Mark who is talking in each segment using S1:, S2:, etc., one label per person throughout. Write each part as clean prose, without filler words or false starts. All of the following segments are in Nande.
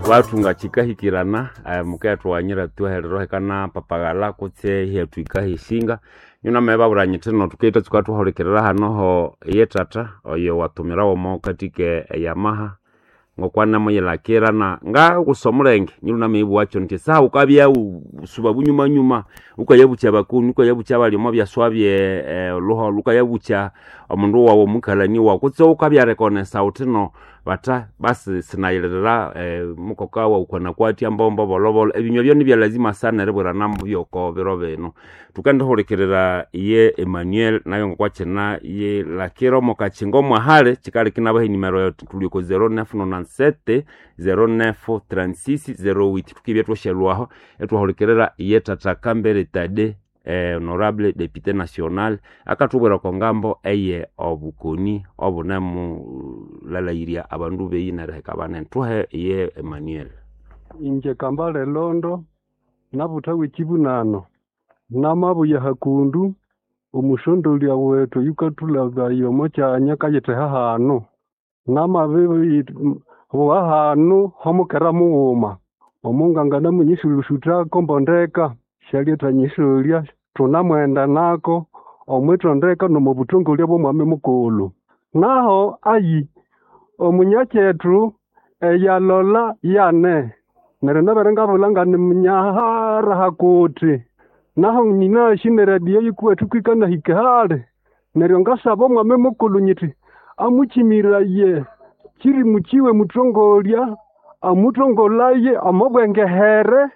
S1: Wathunga kikahikirana mukayathughanyira thuherero hekana papaghala kutse ihyatwika hisinga nyunamababwira nyithi no thukithatsuka thuhulikirira hanoho ye tata oyo wathumirawo omo kathike eyamaha ngokwanamuyilakira na ngagusa omulenge nyilunamibugha nti saha wukabya suba bunyumanyuma wukayabukya abakoni wukayabukya abali omo byaswa bye olhuholho wukayabukya omundu wawu omukalani wawu kutse wukabya rekonesa wuthi no batha basi sinayilirira mukoka wawu kwanakwatya mbombo bolhobolho ebinywa ebyo nibya lazima sana eribwirana byoko biro bino. Thukendihulikirira ye Emmanuel nayo ngokwakyina yilakira omo kakyinga omwahali kyikaleka inabaha enimero eyo thuli oko 0997 0936 08 thukibya thwasyalhwaho ithwahulikirira ye thatha Kambere Tade honorable député national akathubwira oko ngambo eye obukoni obunemulalhairya abandu beyi neriheka banene. Thuhe ye Emmanuel.
S2: Inje Kambale Londo nabutha w'ekibunano namabuya hakundu omusondolya wethu oyukathulabaya omo kyanya akayitheha hanu namabibuwa hanu homukera mughuma omunganga namunyisulusuthako mbondeka syalyathanyissolya thunamwenda nako omwithondeka n'omubuthongolya bw'omwami mukulhu. Naho ayi omunyakyethu eyalola yane neryo nabere ngabulha ngani munyahara hakuthi naho nyinasi n'eradio yikuwethu kwikanahika hali neryo ngasaba omwami mukulhu nyithi amukyimiraye kyirimu kyiwe muthongolya amuthongolaye omo bwengehere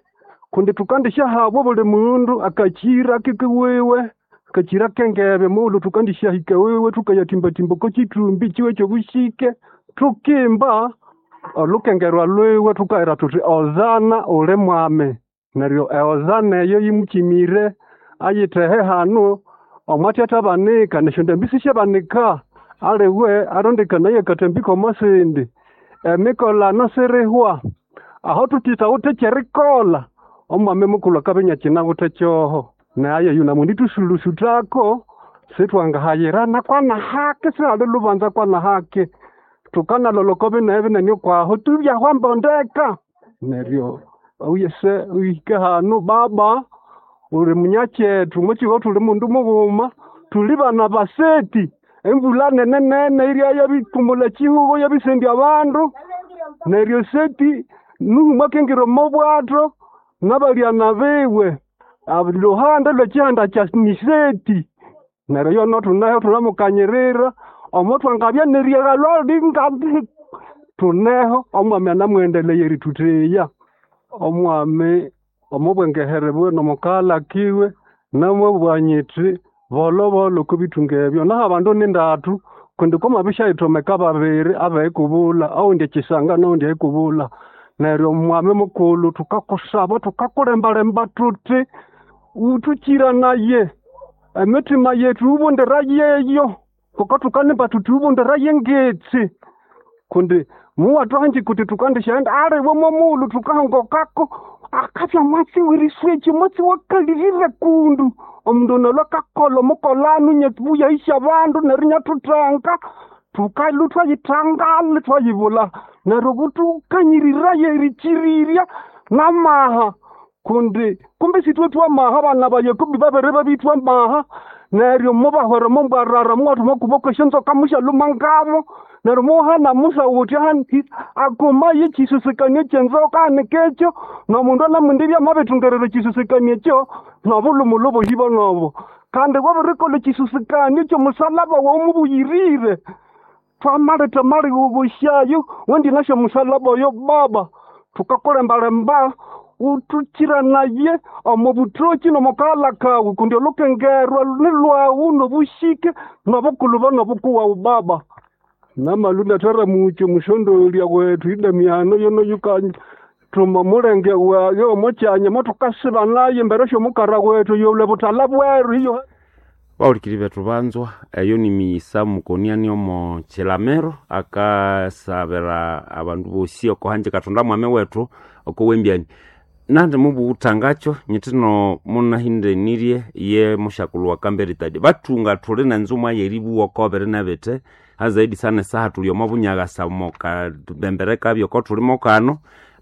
S2: kundi thukandisyahabwa obuli mundu akakyira kikiwiwe akakyira kengebe mughulhu thukandisyahika wiwe thukayathimbathimba oko kyithumbi kyiwe ky'obushike thukimba olukengerwa lwiwe thukahira thuthi Hosana uli mwami neryo ehosana eyo yimukyimire ayithehe hanu omwathyathyabanika nesyondambi sisyabanika aliwe arondekanaye akatambi k'omo sindi emikolano sirihwa aho thuthithawithe ky'erikolha omwami mukulhu akabya inyakyinawithe kyoho naye eyo namundithusulusutako sithwangahayirana kwanahaki sihali lubanza kwanahaki thukanalolha oko binehe binene okwaho tubyahwa mbondeka neryo oyese ohike hanu baba uli munyakyethu omwakyihugho thuli mundu mughuma thuli bana baseti embulha nene nene irya yabikumulha ekyihugho yabisendya abandu neryo seti Nuhu mwakingira omo bwatho n'abalyana biwe luhande lw'ekyihanda kya niseti neryo yono thuneho thunamukanyirira omo thwangabya neriaghalwa linga thuneho omwami anamughendeleye erithutheya omwami omo bwengehere bwiwe n'omukaghalha kiwe namabugha nyithi bolhobolho oko bithunga ebyo naho abandu nindathu kundi kwamabisyathomeka babiri abeikubulha owundi ekyisanga n'owundi eikubulha neryo omwami mukulhu thukakusaba thukakulembalemba thuthi wuthukyiranaye emitima yethu wubundira yeyo ngoko thukanimba thuthi wubundira yengetsi kundi muwathuhanji kuti thukandisyaghenda aliwe mwomughulhu thukahongokako akabya mwatsi w'eriswekyi omwatsi wakalirire kundu omundu ono alhwe akakolha omukolano inyabuyahisya abandu neryo inyathuthenga thukalhwa thwayithangala thwayibulha neryo buthukanyiriraye erikyirirya n'amaha kundi kumbi sithwe thwamaha abana ba Yakobo babere babithwa amaha neryo mubahwera omo mbwarara muwathuma okuboko esyonzoka musyalhuma ngabo neryo muhana Musa wuthi akumaye ekyisusikania ekyenzoka hanika ekyo n'omundu anamwendibya amabithungerera ekyisusikania ekyo n'obulhumulhu obohi bonobo kandi wabirikolha ekyisusikania eky'omusalaba wawu mubuyirire thwamaletha amalighoghosyayo wendinasya omusalaba oyo baba thukakulembalemba wuthukyiranaye omo buthoki n'omo kaghalha kawu kundi olukengerwa nilwawu n'obushike n'obukulhuba n'obukuwawu baba namalhu inathara mukyi omusyondolya wethu idamiano yono yukathuma omulenge wayo omo kyanya mothukasiba nayo embere sy'omukara wethu yolwe buthalha bweru iyo
S1: Bahulikiri bethu banzwa eyo ni miyisa mukoniani omo kyilamiro akasabira abandu bosi oko hanji Kathonda mwami wethu oko wembyani nandi mubughutangakyo nyithi no munahindenirye ye mushakulhu wa Kambere Tade bathunga thuli nenzumwa yeribuwa oko biri nebithe hazaidi sana esaha thuli omo bunyaghasa omo kabembere kabyo oko thuli mokano.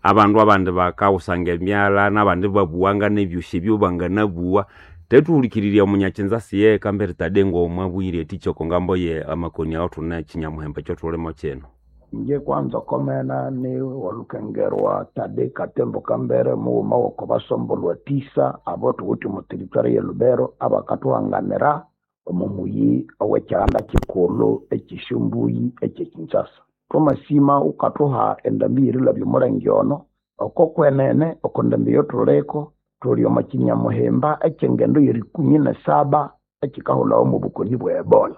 S1: Abandu abandi bakawusanga emyala n'abandi babuwanga n'ebyosi ebyo banganabuwa. Tethuhulikiriria omunyakinza siye kambere Tade ng'omwabwire eticha oko ngambo ye amakoni awo thune kinyamuhemba ekyothulimo kino.
S3: Inje kwanza okomena ni walukengerwa Tade Katembo Kambere mughuma woko basombolwa tisa abo thuwithe omo territory ye Lubero abakathuhanganira omo muyi owekyihanda kikulhu ekyesyombui ekye Kinshasa. Thwamasima wukathuha endambi y'erilabya omulenge ono oko kwenene oko ndambi eyathuliko thuli omo kinyamuhimba ekyengendo y'erikumi nesaba ekikahulhawa omo bukoni bwe Ebola.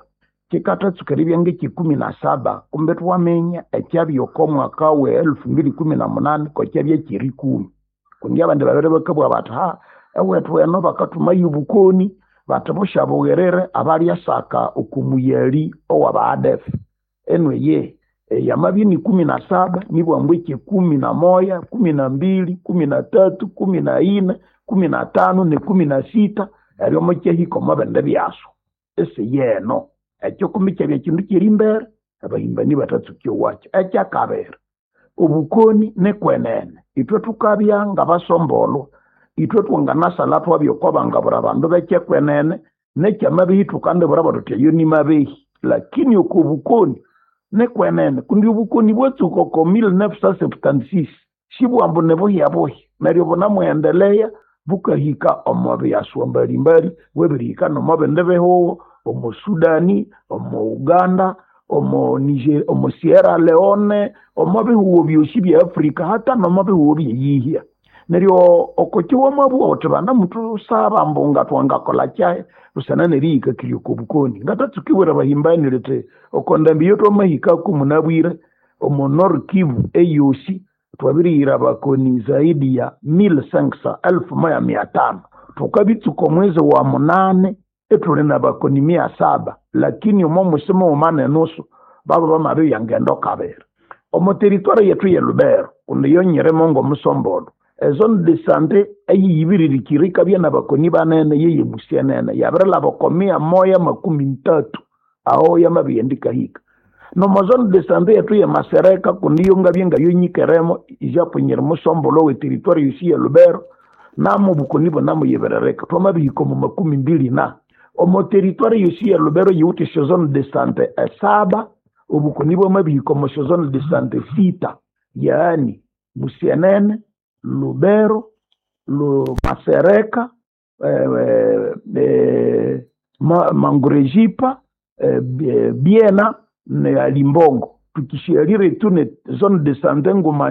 S3: Kikathatsuka eribya ng'ekyikumi na saba kumbe thwaminya ekyabya oko mwaka we 2018 kokyabya kyerikumi. Kundi abandi babere bakabugha bathi ha ewethu eno bakathumayo obukoni bathi busyabughirire abalyasaka oko muyali owa ADF. Enu eye yamabya ni 17 nibwambu ekyekumi na moya, 12, 13, 14, 15 ne 16 eryo mukyahika omo bindi byaso. Esi yeno ekyo kumi kyabya kindu kyerimbere abahimbani batatsuka owakyo. Ekyakabiri obukoni nikwenene ithwe thukabya ngabasombolwa ithwe thwanganasala thwabya oko bangabura abandu bekyekwenene nekyamabehi thukandibura thuthi eyo nimabehi lakini oko bukoni nikwenene kundi obukoni bwatsuka oko 1976 sibwambu nibuhyabuhya neryo bunamughendeleya bukahika omo byaswa mbalimbali bwabirihika nomo bindi bihugo omo Sudani, omo Uganda, omo Niger, omo Sierra Leone, omo bihugo byosi bya Afrika hata nomo bihugo byeyihya. Neryo oko kiwamabugha wuthi banamuthusaba ambu ngatwangakolha kyahi busana nerihikakirya oko bukoni. Ngathatsuka ibwira abahimbani lithi oko ndambi eyatwamahikaku munabwire omo Nord Kivu eyosi twabirihira abakoni zaidi ya 1500 1500. Thukabitsuka omwezi wa munane ithuli nabakoni 700 lakini omo mwisi mughuma nenusu baba bamabibya ngendo kabiri. Omo territoire yethu ye Lubero kundi yo nyirimo ng'omusombolo ezone de sante eyiyibiririkire ikabya nabakoni banene yeye Musienene yabirilhaba oko 130 aho yamabiyenda ikahika. Nomo zone de sante yethu ye Masereka kundi yo ngabya ngayonyikeremo ijapo nyiri musombolo we territoire yosi ye Lubero namo obukoni bunamuyibiririka thwamabihika omo 24. Omo territoire yosi ye Lubero yiwithe esyozone de sante esaba obukoni bwamabihika omo syozone de sante sita yaani Musienene, Lubero, Masereka, Mangurejipa, Biena ne Alimbongo. Tukishialire tu ne zone de sante nguma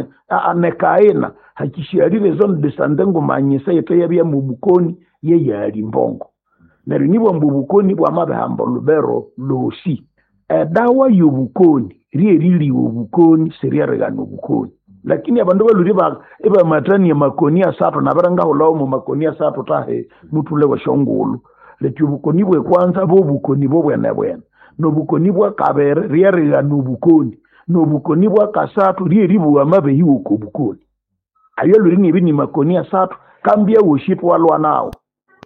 S3: ne Kaena hakishialire zone de sante ngumanyisa yetu yabya mu bukoni ye Alimbongo. Neryo nibwambu obukoni bwamabihamba Lubero lwosi. Edawa y'obukoni lyeriliwa obukoni siryerighana obukoni. Lakini abandu balhwire ibamathania makoni asathu nabiringahulhawo omo makoni asathu tahi muthule wesyongulhu. Lethi obukoni bwekwanza bwobukoni bobwenebwene nobukoni bwakabiri ryerighana obukoni nobukoni bwakasathu lyeribuwa amabehi woko obukoni. Ayo lhwiri nibya ni makoni asathu kambi awosi thwalwa nawo.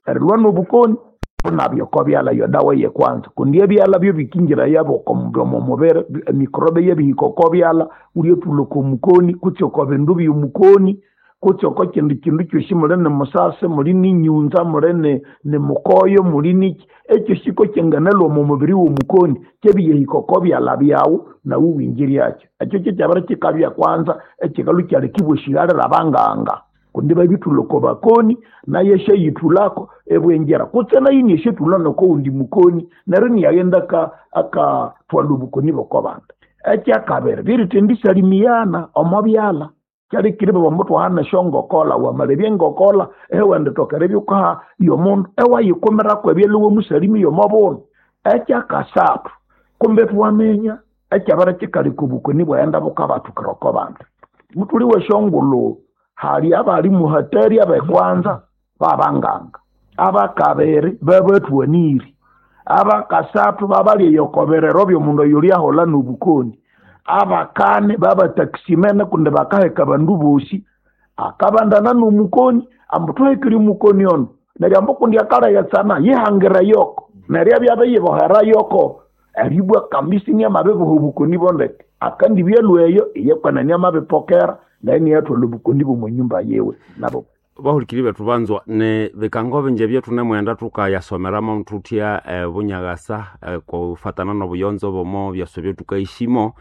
S3: Erilwa nobukoni bunabya oko byalha yodawa yekwanza kundi ebyalha byobikingira yabo omo mubiri emikrobe yabihika oko byalha wulyathulha oko mukoni kutse oko bindu byomukoni kutse oko kindi kindu kyosi muli ni musase muli ninyunza muli ni mukoyo muli niki ekyosi kokyanganalhwa omo mubiri womukoni kyabiyahika oko byalha byawu nawu wingiryakyo. Ekyo kyekyabiri kikabya kwanza ekikalhwa kyaleka ibwashighalira abanganga kundi babithulha oko bakoni nayo esyayithulhako ibwingira kutse nayo inyasyethulha noko wundi mukoni neryo inaghenda akathwalha obukoni bwoko bandu. Ekyakabiri lyerithindi salimiana omo byalha kyalekire ibabugha ambu thuhane esyongokolha wamalebya engokolha ewendithoka eribya wukaha yomundu ewayikumirako ebyalha iwamusalimia omo bundu. Ekyakasathu kumbe thwaminya ekyabiri kikaleka obukoni ibwaghenda bukabathukira oko bandu. Muthuli wesyongulhu hali abali muhatari abekwanza babanganga abakabiri babathwaniri abakasathu babalya oko birero byomundu oyulyaholha nobukoni abakane babatakisimene kundi bakaheka abandu bosi akabandana nomukoni ambu thuhekire omukoni ono neryo ambu kundi akalheghetsana yihangira yoko neryo abya abiyibohera yoko eribwa kambisi inamabiboha obukoni bondeke akandibya lhweyo iye kwenene amabipokera. Naye niyathwala obukoni bw'omo nyumba yiwe nabo.
S1: Bahulikiri bethu banzwa ni bikango bingi ebyo thunemwenda thukayasomeramo thuthya bunyakasa kufatana n'obuyonzo bw'omo byaswa ebyothukayishimo.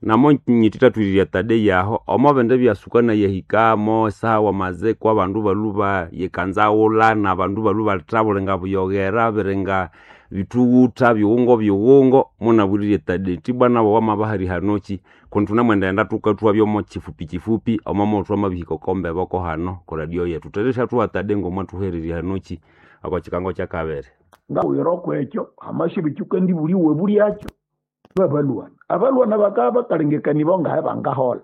S1: Namo nyithitatwirirya tade yaho omo bindi byasuka nayahikamo esaha wamaziko abandu balhuba yikanzaghulana, abandu balhuba lithabulinga buyoghera biringa bithughutha bighungo bighungo, munabwirire tade indi nabo wamabahali hanoki kundi thunemwendaghenda thukathwa byomo kifupi kifupi omo mughulhu thwamabihika oko mbeboko hano ku radio yethu. Thutheryasyathugha tade ngomwathuhererya hanoki oko kikango kyakabiri.
S3: Ngabwira okwekyo hamasya ekyukandibulya iwabulyakyo babalwana. Abalwana bakabya bakalengekania ngahe bangaholha.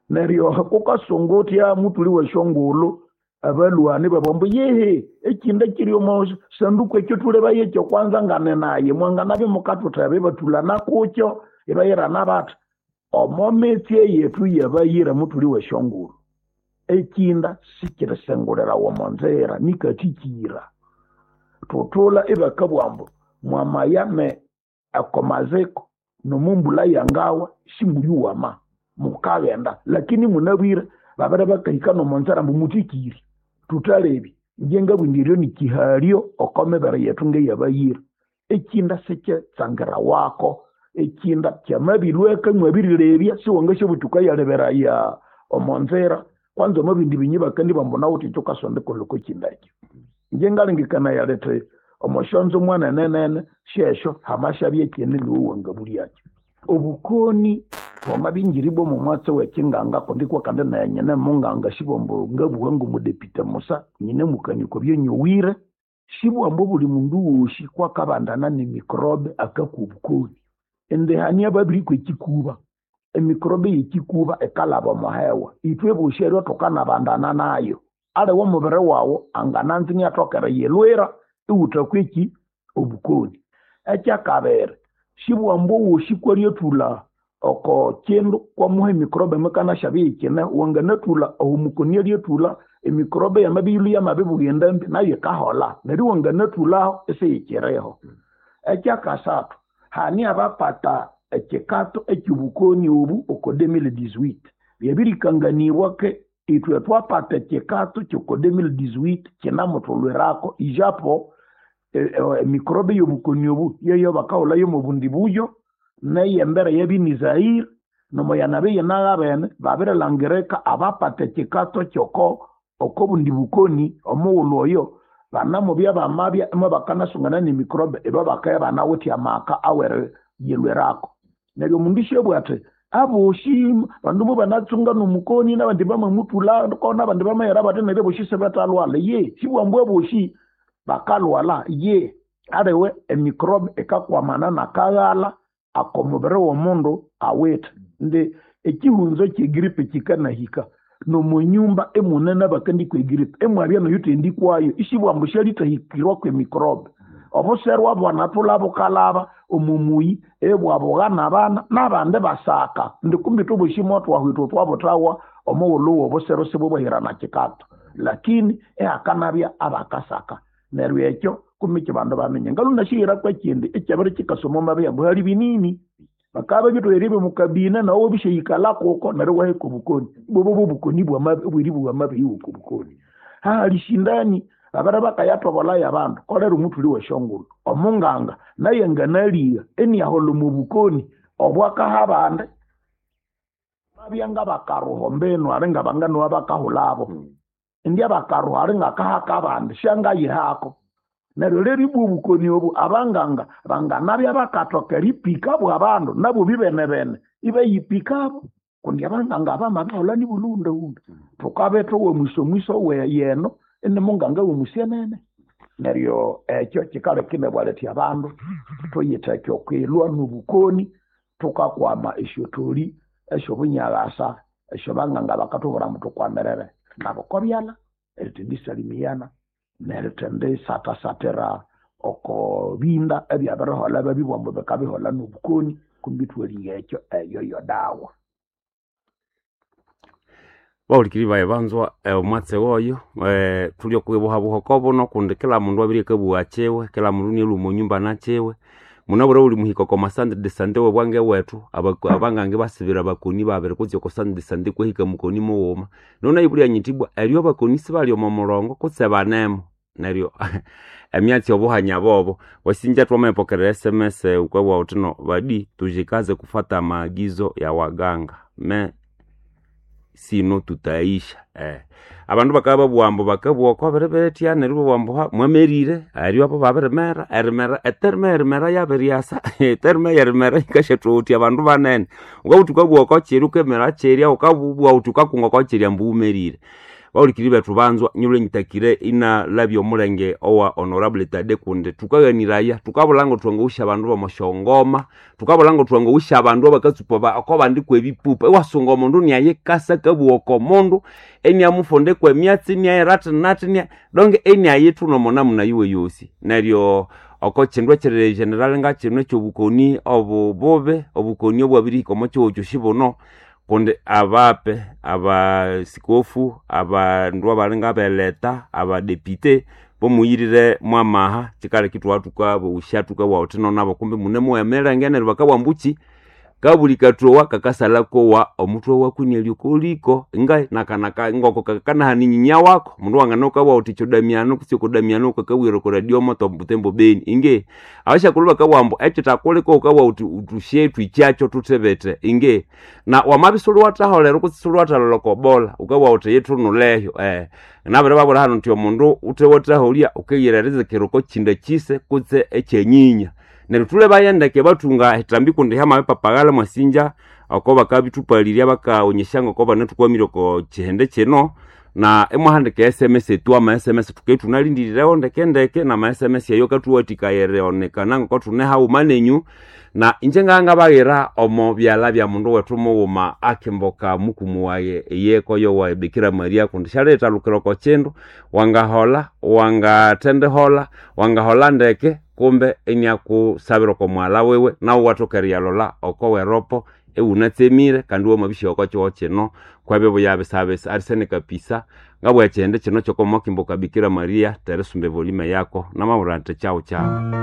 S3: Neryo kukasunga uthya muthuli wesyongulhu abalhwani ibabugha ambu yehe ekyindu ekyiri omo sanduku ekyo thulebaye ekyo kwanza nganenayi mwanganabya mukathutheba ibathulana kukyo ibayirana bathi omo mitsi eyethu yabayira muthuli wesyongulhu ekyinda sikirisengulirawa omo nzira nikathikira. Thuthula ibakabugha ambu mwamaya ne oko maziko nomumbulha yangawa simulyiwama mukaghenda, lakini munabwire babere bakahika nomonzira ambu muthikire. Thuthalebye ingye ngabugha indi eryo nikihalyo oko mibere yethu ngeyabayira. Ekyinda sikyitsangirawako, ekyinda kyamabilweka imwabirilebya siwangasyabuthi wukayaleberaya omo nzira kwanza omo bindi binyi bakandibugha ambu nawuthi ekyo wukasonda erikolha oko kyinda ekyo. Ingye ngalengekanaya lithi omosyonzo mwanenenene syesyo hamasyabya ekyindi niwe wangabulyakyo. Obukoni bwamabya ingiribwa omomwatsi wekyinganga kundi kwa kandi nayi nyine munganga sibwa ambu ngabugha ngomudepite musa nyinemukania oko byanyowire, sibwa ambu obuli mundu wosi kwakabandana nemicrobe akakwa obukoni. Indi hane ababirikwa ekyikuba, emicrobe yekyikuba yikalhaba omo hewa. Ithwe bosi eryo thukanabandana nayo. Aliwe omubiri wawu angananza iniathoka eriyilhwira iwuthakwa eki obukoni. Ekyakabiri, sibwa ambu owosi kwalyathulha oko kyindu kwamuha emicrobe emikanasyabya iyikyine, wanganathulha aho omukoni alyathulha emicrobe yamabya iyilhwe yamabibugha endambi nayo yikaholha neryo iwanganathulhaho isiyikyiriho. Ekyakasathu, hane abapata ekyikato ekyobukoni obu oko 2018. Byabirikanganibwa ke ithwe thwapata ekyikato kyoko 2018 kyinamuthulhwirako ijapo emicrobe eyobukoni obu yeyo bakahulhayo omobundi buyo neyembere yabya Zaire nomoyanabya iyinaghabene babirilhangirika abapata ekyikato kyoko okobundi bukoni omughulhu oyo banamubya bamabya imubakanasungana nemicrobe ibo bakabya ibanawithe amaka aweriyilhwirako. Neryo omundu isyabugha athi abosi bandu mubanatsunga nomukoni nabandi bamamuthulhako nabandi bamayira bathi neryo abosi sibathalhwalha. Ye sibugha ambu abosi bakalhwalha ye aliwe emicrobe ikakwamana nakaghalha akomubiri womundu awithe. Indi ekyihunzo kyegripe kyikanahika nomonyumba imune nabakandikwa egripe imwabya noyuthendikwayo isibugha ambu syalithahikirwa kwemicrobe. Obuserwa bwanathulha bukalhaba omo muyi ibwabugha nabana nabandi basaka indi kumbi ithwe bosi mothwahwa ithwe thwabuthawa omughulhu wobuseru sibubwahirana kyikato lakini ihakanabya abakasaka. Neryo ekyo kumbi kyibandu baminya. Ngalhu nasyihira kwekyindi ekyabiri kyikasoma omo mabya ambu hali binini bakabya babithowerye omukabina nawu wabisyayikalha kuko neryo iwaheka obukoni. Ibwabya bwobukoni obweribugha amabehi woko bukoni. Hahali sindani babere bakayathobolhayo abandu kolera omuthuli wesyongulhu. Omunganga nayu anganaligha iniaholha omo bukoni obwakaha abandi babya ngabakaruha ombinu ali ngabanganowa bakahulhabo. Indi abakaruha ali ngakahaka abandi syangayihako. Neryo rero ibwa obukoni obu abanganga banganabya bakathoka eripikabo abandu nabo bibenebene ibayipikabo kundi abanganga bamabiholha nibulhughundahunda. Thukabya ithwe mwiso weyeno inimunganga womusyenene. Neryo ekyo kyikaleka inabugha lithi abandu thuyitheke okwilhwa nobukoni thukakwama esyotholi esyobunyalasa esyobanganga bakathubwira ambu thukwamirire nabo okobyalha erithendisalimiyana nerithendisathasathira oko binda ebyabiriholha babibugha ambu bikabiholha nobukoni kumbi ithwaligha ekyo eyo yodawa.
S1: Bahulikiri bayi banzwa omwatsi woyo thuli okwibuhabuha oko buno kundi kila mundu abirye akabugha kyiwe, kila mundu nialhwa omo nyumba nakyiwe. Munabwire buli muhika oko macentre de santé w'obwange bwethu abangange basibira abakoni babiri kutse oko centre de santé kwahika mukoni mughuma. Nonayibulya nyithi ibwa eryo abakoni sibali omo mulongo kutse banemo neryo emyatsi obuhanya bobo. Wasinja twamapokera SMS ukabugha wuthi no badi tujikaze kufata maagizo ya waganga me sino tutaisha. Abandu bakabya babugha ambu bakabugha oko biribirithya neryo ibabugha ambu mwamerire eryo abo babirimera erimera eterme erimera yabiryasa eterme yerimera yikasyathowotya abandu banene. Wukabugha wuthi wukabugha oko kirya wukemera kirya wukabugha wuthi wukakunga oko kirya ambu wumerire. Bahulikiriri bethu banzwa nyilwe nyitakire inalabya omulenge owa honorable Tade kundi thukaghaniraya thukabulha ngothwangawusya abandu b'omosyongoma, thukabulha ngothwangawusya abandu abakatsupa oko bandi kw'ebipupa. Iwasunga omundu inayikasa akabugha oko mundu iniamufunda kw'emyatsi iniaghira athi donge iniayithuna omo namuna yiwe yosi. Neryo oko kindu ekiri general ngakino eky'obukoni obububi, obukoni obwabirihika omo kihugho kyosi buno kundi abape, abasikofu, abandu abali ngabeleta, abadepite bomuyirire mwamaha kikaleka ithwabya thukabawusya thukabugha thuthi no nabo kumbe munemowa emirenge neryo bakabugha ambu kabuli kathowa kakasalha kowa omuthwe waku inialya okoliko ingahi nakanaka ngoko kakanahana nyinya wako. Omundu wangana wukabugha wuthi kyodamiano kutse okodamiano kakabwira oko radio moto Butembo Beni inge abasyakulhu bakabugha ambu ekyithakulika wukabugha wuthi thusye thwikyakyo thuthibithe inge na wamabya isiwuliwathaholera kutse isiwuliwathalholha oko bola wukabugha wuthi yithunuleyo. Nabiribabwira hanu nthi omundu wuthewathaholya wukiyira erizikira oko kyinda kyise kutse ekyenyinya. Neryo thulhebaye ndeke bathunga ehitambi kundi hyamabipapaghalha mwasinja oko bakabithupalirya bakaghonyesya ngoko banathukwamire oko kihindi kino na imwahandika SMS etu ama SMS thukabya ithunalindirirewo ndeke ndeke nama SMS ayo akathuwathikaya erionekana ngoko thune haghuma nenyu. Na inje ngabya ngabaghira omo byalha bya mundu wethu mughuma akimboka mukumu wayi eyeko yowa Bikira Maria kundi syaliyithalukira oko kindu wangaholha, wangathendiholha, wangaholha ndeke kumbe iniakusabira oko mughalha wiwe nawu iwathoka eriyalholha oko weropo iwunatsemire kandi iwamabisyowa oko kihugho kino kwebibuya bisabisa arisene kapisa. Ngabugha ekihindi kino ky'okomwakimboka Bikira Maria terisumba evolime yako namabwira indi kyawu kyawu.